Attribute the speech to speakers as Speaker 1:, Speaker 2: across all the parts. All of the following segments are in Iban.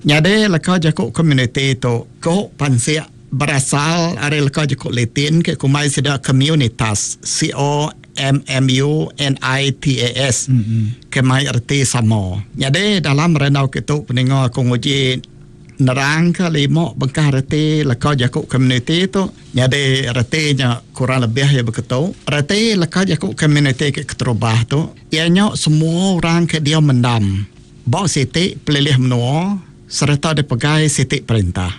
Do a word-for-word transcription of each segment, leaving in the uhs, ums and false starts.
Speaker 1: Nyadi leka jaku komuniti tu ko pansik berasal ari leka jaku Latin ke kumbai sida communitas, C O M M U N I T A S, mm-hmm. ke mai erti sama. Nyadi dalam randau kitu peninga aku nguji nerang ke lima bengkah reti leka jaku komuniti tu. Nyadi retinya kurang lebih ya begitu. Reti leka jaku komuniti ke keterubah tu ianya semua orang ke dia mendam ba siti pelilih menua sereta dipegai siti perintah.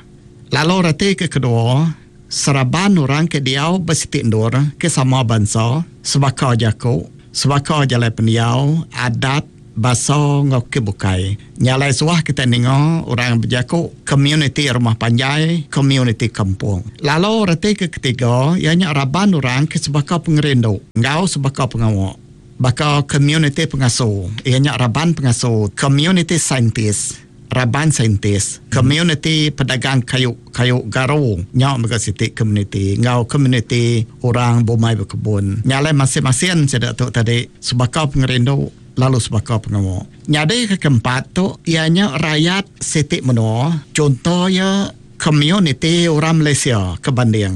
Speaker 1: Lalu reti ke kedua, seraban orang ke diau bersiti endur ke sama bangsa, sebaka jaku, sebaka jalai pendiau, adat, basa ngau ke bukai. Nyalai suah kita ninga orang berjaku community rumah panjai, community kampung. Lalu reti ke ketiga, ianya raban orang ke sebaka pengerindu ngau sebaka pengawa. Baka community pengasuh, ianya raban pengasuh, community scientist, raban saintis, community pedagang kayu kayu garu, nyak mega siti community, ngau community orang bumai berkebun. Nyalai masing-masing sida tu tadi sebaka pengerindu lalu sebaka pengawa. Nyadi ke keempat tu ianya rakyat siti menua, contoh ya community orang Malaysia kebanding.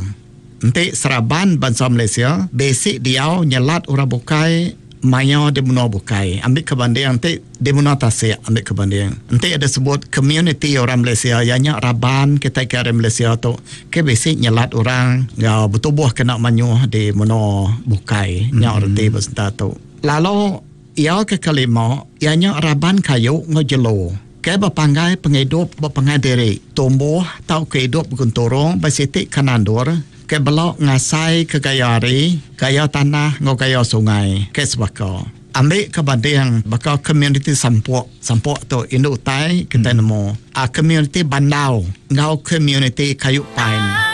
Speaker 1: Enti seraban bangsa Malaysia basic diau nyelat orang bukai maya di menua bukai. Ambil kebanding enti di menua tasik ambil kebanding. Enti ada sebut community orang Malaysia ianya raban kita ke ari Malaysia tu ke basic nyelat orang ngau bertubuh kena manyuh di menua bukai. Nya reti beserta tu. Lalu ia ke kelima ianya raban kayu ngau jelu. Ke berpanggai penghidup berpanggai diri, tumbuh tau ke hidup bergenturung bersiti kanandur ke belok ngasai ke gaya hari, gaya tanah ngau gaya sungai ke sebaka. Ambil kebanding baka community sampuk, sampuk tu induk utai kita nemu. A community bandau ngau community kayu pine.